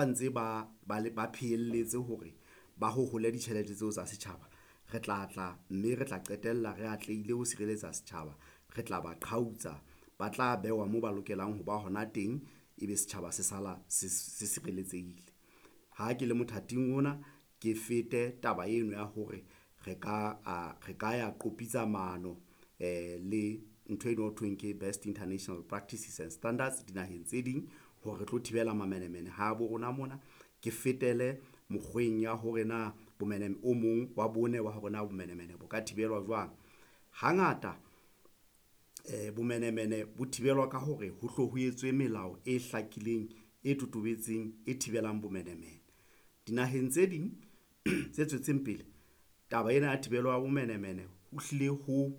Ntse ba phehelletse hore ba hohole ditjhelete tseo tsa setjhaba, re tla tla mme re tla qetella re atlehile ho sireletsa setjhaba, re tla ba qhautsa, ba tla behwa moo ba lokelang ho ba hona teng, ebe setjhaba se sala se sireletsehile. Ha ke le mothating ona, ke fete taba eno ya hore re ka ya qopitsa maano le ntho eno ho thweng ke best international practices and standards dinaheng tse ding hore re tlo thibela mamenemene habo rona mona. Ke fetele mokgweng ya hore na o mong wa bone wa hore na bomenemene bo ka thibelwa jwang. Hangata bomenemene bo thibelwa ka hore ho hlo ho etswe melao e hlakileng, e totobetseng, e thibelang bomenemene. Dinaheng tse ding tse tswetseng pele taba ena ya thibelo ya bomenemene ho hlile ho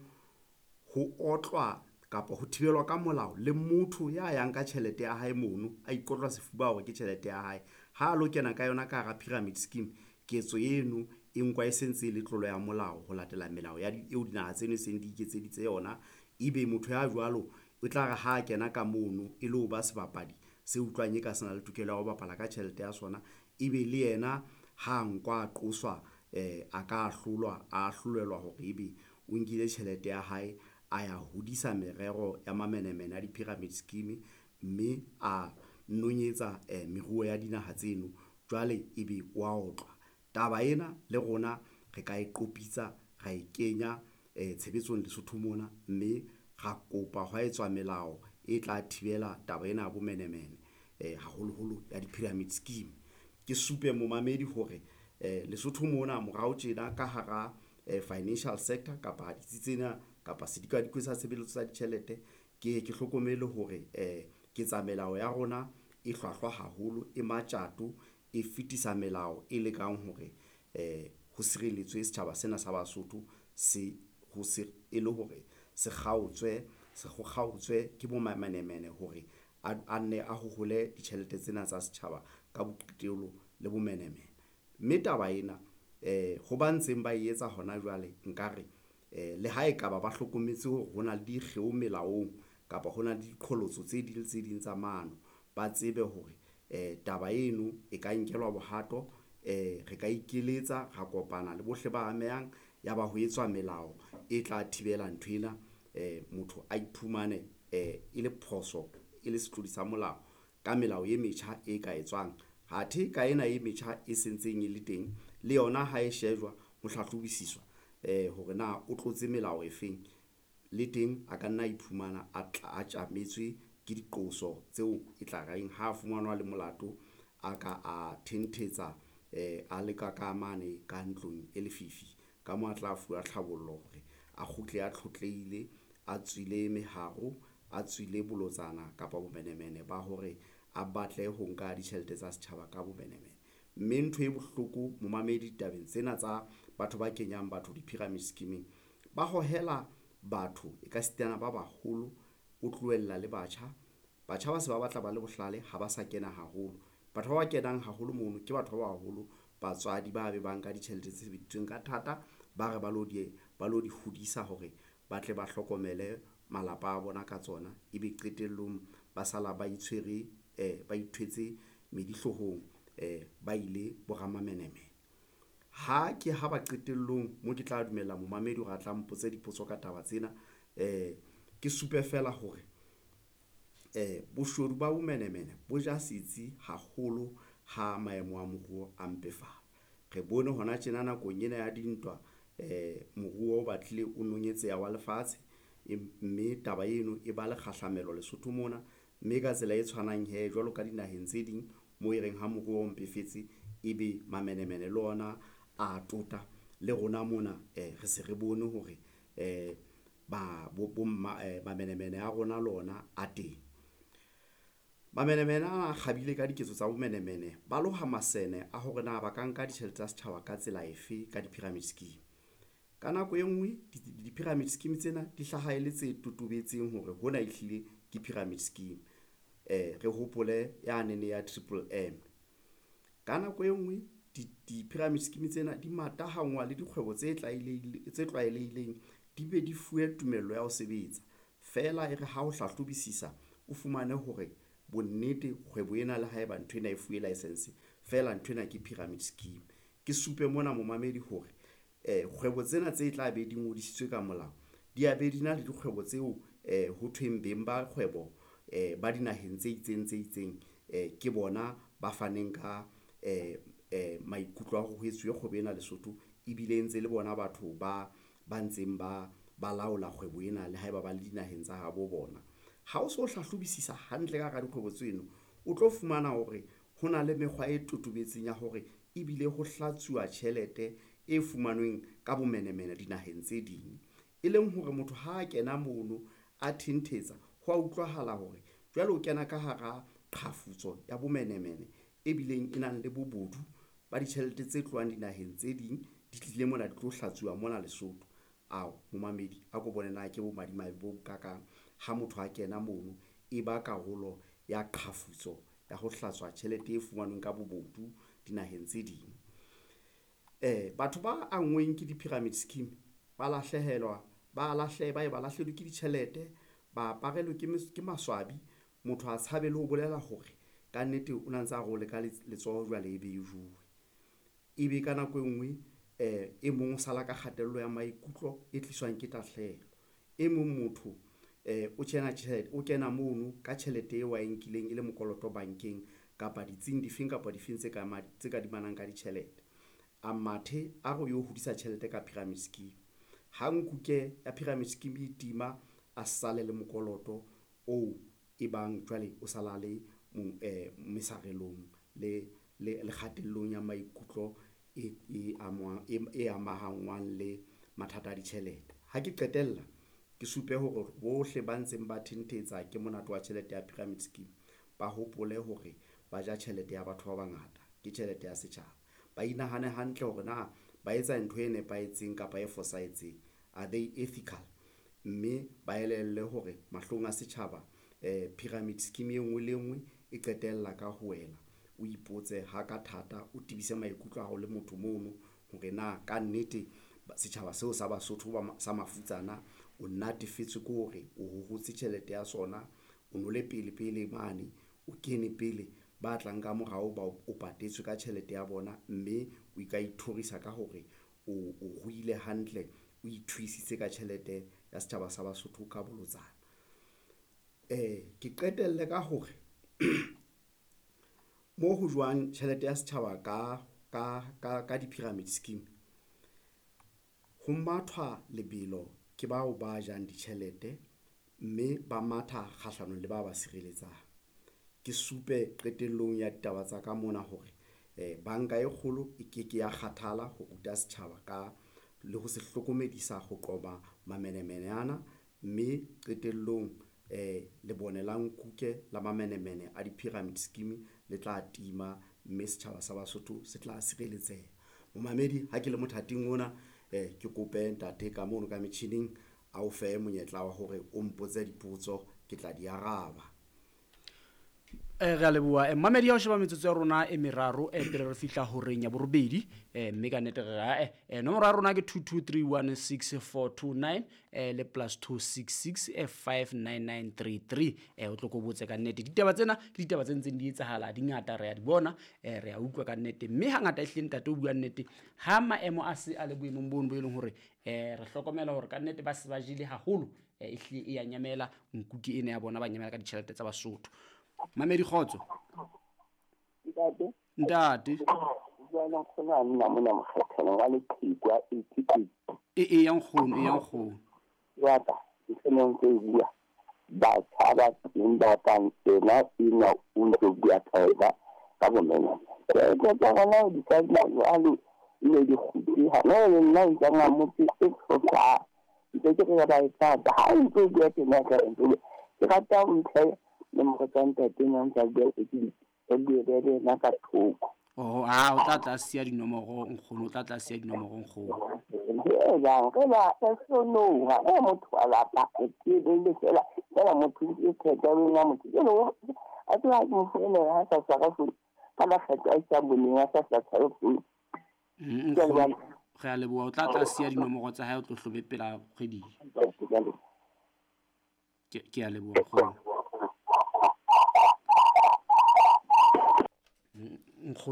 otlwa kapa ho thibelwa ka molao le motho ya yang ka tjhelete ya hae mono, a ikotla sefuba hore ke tjhelete ya hae, ha lo kena ka yona ka hara pyramid scheme, ketso eno e nkwa e sentse e le tlolo ya molao ho latela melao eo dinaha tseno e seng di iketseditse yona. Ebe motho ya jwalo o tla re ha kena ka mono e lo ba sebapadi se utlwang e ka se na le tokelo ya ho bapala ka tjhelete ya sona, ebe le yena ha nkwa a qoswa, a ka ahlolwa, a ahlolelwa hore ebe o nkile tjhelete ya hae, a ya hodisa merero ya mamenemene a di-pyramid scheme, mme a nonyetsa meruo ya dinaha tseno jwale ebe wa otlwa. Taba ena le rona re ka e qopitsa, ra e kenya tshebetsong Lesotho mona, mme ra kopa hwa etswa melao e tla thibela taba ena ya bomenemene haholoholo ya di-pyramid scheme. Ke supe momamedi hore Lesotho mona morao tjena ka hara financial sector kapa ditsi tsena kapa sedikadikwe sa tshebeletso tsa ditjhelete, ke ye ke hlokomele hore ketsa melao ya rona e hlwahlwa haholo, e matjato, e fetisa melao e lekang hore ho sireletswe setjhaba sena sa Basotho e le hore se kgaotswe, ho kgaotswe ke bo mamenemene hore a nne a hohole ditjhelete tsena tsa setjhaba ka boqitelo le bomenemene. Mme taba ena ho ba ntseng ba e etsa hona jwale, nkare le ha ekaba ba hlokometse hore hona le dikgeo melaong kapa hona le diqholotso tse ding le tse ding tsa mano, ba tsebe hore taba eno e ka nkelwa bohato, re ka ikeletsa, ra kopana le bohle ba amehang ya ba ho etswa melao e tla thibela nthwena motho a iphumane e le phoso e le setlodi sa molao ka melao e metjha e ka etswang. Athe ka ena e metjha e sentseng e le teng le yona ha e shejwa ho hlahlobisiswa hore na o tlotse melao e feng le teng, a ka nna iphumana a tjametswe ke diqoso tseo e tla reng ha fumanwa le molato, a ka a thenthetswa a le ka mane ka ntlong e lefifi ka moo a tla fuwa tlhabollo hore a kgutle, a tlhotlehile, a tswile meharo, a tswile bolotsana kapa bomenemene ba hore a batle ho nka ditjhelete tsa setjhaba ka bomenemene. Mme ntho e bohloko momamedi tabeng tsena tsa batho ba kenyang batho di-pyramid scheme-ing, ba hohela batho e ka sitana ba baholo, o tlohella le batjha. Batjha ba se ba batla ba le bohlale ha ba sa kena haholo, batho ba kenang haholo mono ke batho ba baholo, batswadi ba be ba nka ditjhelete tse sebeditsweng ka thata, ba re ba lo di hodisa hore ba tle ba hlokomele malapa a bona ka tsona, ebe qetellong ba sala ba itshwere, ba ithwetse medi hloohong ba ile bo ramamenemene. Ha ke ha ba qetellong moo ke tla dumella momamedi hore a tla mpotse dipotso ka taba tsena, ke supe feela hore boshodu ba bomenemene bo ja setsi haholo ha maemo a moruo a mpefala. Re bone hona tjena nakong ena ya dintwa moruo o batlile o nonyetseha wa lefatshe, mme taba eno e ba le kgahlamelo Lesotho mona, mme ka tsela e tshwanang hee jwalo ka dinaheng tse ding moo e reng ha moruo o mpefetse, ebe mamenemene le ona a tota le rona mona re se re bone hore mamenemene a rona le ona a teng. Mamenemene ana a kgabile ka diketso tsa bomenemene, ba loha masene a hore na ba ka nka ditjhelete tsa setjhaba ka tsela efe ka di-pyramid scheme. Ka nako e ngwe di-pyramid scheme tsena di hlaha e le tse totobetseng hore hona ehlile ke pyramid scheme, re hopole yanene ya Triple M. Ka nako e ngwe di-pyramid scheme tsena di matahangwa le dikgwebo tse tlwaelehileng, di be di fuwe tumello ya ho sebetsa feela e re ha o hlahlobisisa, o fumane hore. Bonnete kgwebo ena le haeba ntho ena e fuwe license feela, ntho ena ke pyramid scheme. Ke supe mona momamedi hore kgwebo tsena tse tla be di ngodisitswe ka molao di a be di na le dikgwebo tseo ho thweng beng ba kgwebo ba dinaheng tse itseng tse itseng ke bona ba faneng ka maikutlo a hore ho etsuwe kgwebo ena Lesotho, ebile e ntse le bona batho ba ntseng ba laola kgwebo ena le haeba ba le dinaheng tsa habo bona. Ha o so hlahlobisisa hantle ka hara dikgwebo tseno, o tlo fumana hore ho na le mekgwa e totobetseng ya hore ebile ho hlatsuwa tjhelete e fumanweng ka bomenemene dinaheng tse ding, e leng hore motho ha a kena mono a thenetsa ho a utlwahala hore jwale o kena ka hara qhafutso ya bomenemene e bileng e nang le bobodu ba ditjhelete tse tlohang dinaheng tse ding di tlile mona di tlo hlatsuwa mona Lesotho. Ao momamedi a ko bone na ke bomadimabe bo bokakang ha motho a kena mono e ba karolo ya qhafutso ya ho hlatswa tjhelete e fumanweng ka bobodu dinaheng tse ding. Batho ba anngweng ke di-pyramid scheme ba lahlehelwa, ba lahlehe, ba ye ba lahlehelwe ke ditjhelete, ba aparelwe ke maswabi. Motho a tshabe le ho bolela hore kannete o na ntse a re o leka letsoho jwale e be e jowe. Ebe ka nako e nngwe e mong o sala ka kgatello ya maikutlo e tliswang ke tahlehelo. E mong motho o tjena tjhelete, o kena mono ka tjhelete eo a e nkileng e le mokoloto bankeng kapa ditsing difeng kapa difeng tse ka tse kadimanang ka ditjhelete. A mathe a re o yo hodisa tjhelete ka pyramid scheme. Ha nkuke ya pyramid scheme e tima, a sale le mokoloto oo e bang jwale o sala le mesarelong le kgatellong ya maikutlo e e amahangwang le mathata a ditjhelete. Ha ke qetella ke supe hore bohle ba ntseng ba thenetsa ke monate wa tjhelete ya pyramid scheme, ba hopole hore ba ja tjhelete ya batho ba bangata, ke tjhelete ya setjhaba. Ba inahane hantle hore na ba etsa ntho e nepahetseng kapa e fosahetseng, are they ethical, mme ba elellwe hore mahlong a setjhaba pyramid scheme e nngwe le e nngwe e qetella ka ho wela. O ipotse ha ka thata, o tibise maikutlo a hao le motho mono hore na kannete setjhaba seo sa Basotho ba sa mafutsana o natefetswe ke hore o hohotse tjhelete ya sona, o no le pele pele mane, o kene pele ba tlang ka morao ba o patetswe ka tjhelete ya bona, mme o ka ithorisa ka hore o ruile hantle, o ithuisitse ka tjhelete ya setjhaba sa Basotho ka bolotsana. Ke qetelle ka hore mo ho jowang tjhelete ya setjhaba ka di-pyramid scheme, ho mathwa lebelo ke bao ba jang ditjhelete mme ba matha kgahlanong le ba ba sireletsang. Ke supe qetellong ya ditaba tsa ka mona hore banka e kgolo e ke ke ya kgathala ho ruta setjhaba ka le ho se hlokomedisa ho qoba mamenemene ana, mme qetellong lebone la nkuke la mamenemene a di-pyramid scheme le tla tima, mme setjhaba sa Basotho se tla sireletseha. Momamedi ha ke le mothating ona ke kope ntate ka mono ka metjhining a o fe monyetla wa hore o mpotse dipotso, ke tla di araba. Re a leboha. Mamedi ya ho sheba metsotso ya rona e meraro pele re fihla horeng ya borobedi, mme ka nnete re re nomoro ya rona ke 22316429 le +266 59933. O tlo ko botse ka nnete. Ditaba tsena ke ditaba tse ntseng di etsahala, di ngata, re a di bona, re a utlwa ka nnete. Mme hangata ehlile ntate o bua nnete, ha maemo a se a le boemong bono bo e leng hore re hlokomela hore ka nnete ba se ba jele haholo, ehlile e ya nyamela nkuke ena ya bona, ba nyamela ka ditjhelete tsa Basotho. Mamedi kgotso. Ntate. Ntate. Jwana nkgono a nna mona mokgethelo wa Leqhekwa 88. E ya nkgono, e ya nkgono. Wa ka, ke ne ntse e bua. Batjha ba teng ba kang ena ena o ntso bua ka yona ka bomenemene. Tjhelete tsa rona di ka nna jwalo, e ne di kgutle. Hana le nna ntse nga motse e tlhoka. Ntse ke re ba e tlatsa. Ha o ntso bua tjena ka ntse bua. Ke rata ho ntlha nomoro tsa ntate na ntse a bua ke di bue le yena ka thoko. Oh, o tla tla siya dinomoro nkgono, o tla tla siya dinomoro nkgono. Re ba re sonoha, e motho wa lapa, ke le fela, fela motho ke kgetha le nna motho. Ke le a tla ke mo founela ha sa tshwara founu, ka makgetlo a isang boneng a sa tshware founu. Nkgono, re a leboha, o tla tla siya dinomoro tsa hae, o tlo hlobe pela kgwedi. Ke a leboha nkgono. Nkgono.